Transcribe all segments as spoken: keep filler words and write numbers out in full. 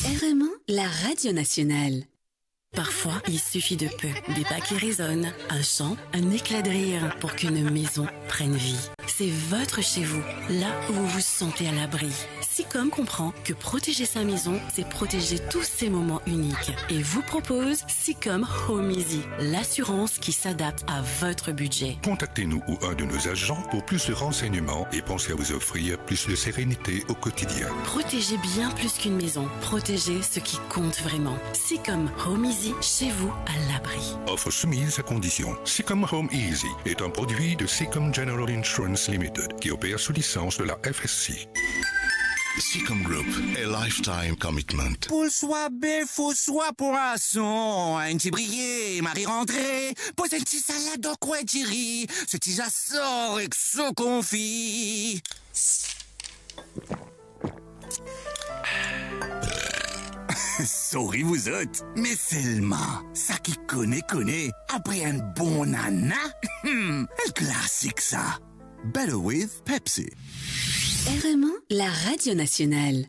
R M un, la radio nationale. Parfois, il suffit de peu, des pas qui résonnent, un chant, un éclat de rire pour qu'une maison prenne vie. C'est votre chez vous, là où vous vous sentez à l'abri. Sicom comprend que protéger sa maison, c'est protéger tous ces moments uniques et vous propose Sicom Home Easy, l'assurance qui s'adapte à votre budget. Contactez-nous ou un de nos agents pour plus de renseignements et pensez à vous offrir plus de sérénité au quotidien. Protégez bien plus qu'une maison, protégez ce qui compte vraiment. Sicom Home Easy, chez vous, à l'abri. Offre soumise à condition. Sicom Home Easy est un produit de Sicom General Insurance Limited, qui opère sous licence de la F S C. Sicom Group, a lifetime commitment. Poul swa bef ou swa pwason, enn ti briye, mari rantre, poz enn ti salad dan kwin diri, so ti zasor ek so konfi. Sorry vous autres, mais seulement, sa ki kone, kone, apre enn bon nana, hmm, enn klasik sa. Better with Pepsi. R M un, la radio nationale.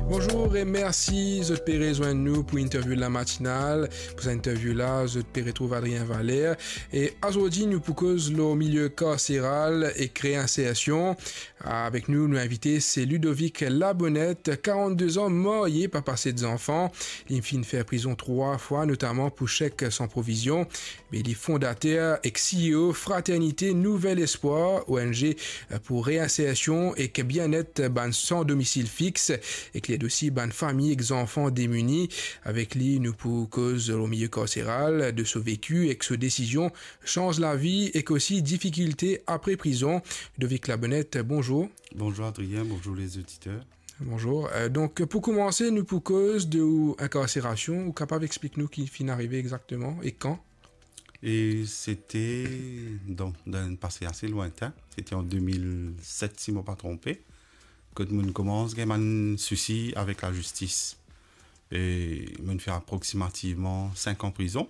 Bonjour e mersi zot pe rezwenn nou pou interview la matinal. Pou sa interview la, zot pe retrouv Adrien Valère. E azordi, nou pou koz lor milieu karseral ek reinsersion. Avek nou, nou invite, se Ludovic Labonnette, karannde-de an, marye, papa set zanfan. Li finn fer prizon trwa fwa, notaman pou chek san provizion. Me li fondater ek C E O Fraternité Nouvel Espoir, O N G pou reinsersion ek bienet bann san domisil fix, ek li ed osi bann fami ek zanfan demini. Avek li, nou pou koz lor milieu karseral, de so veki ek so desizion sanz lavi ek osi difikilte apre prizon. Ludovic Labonnette, bonzour. Bonzour Adrien, bonzour les auditeurs. Bonzour. Euh, donk, pou koumanse, nou pou koz de ou inkarserasion, ou kapav explik nou ki finn arive exakteman e kan? E sete, donk, dan enn pase ase lwintin, sete an de mil set, si mo pa tronpe, kot mo'nn koumans gagn bann sousi avek lazistis. E mo'nn fer aproksimativman sink an prizon.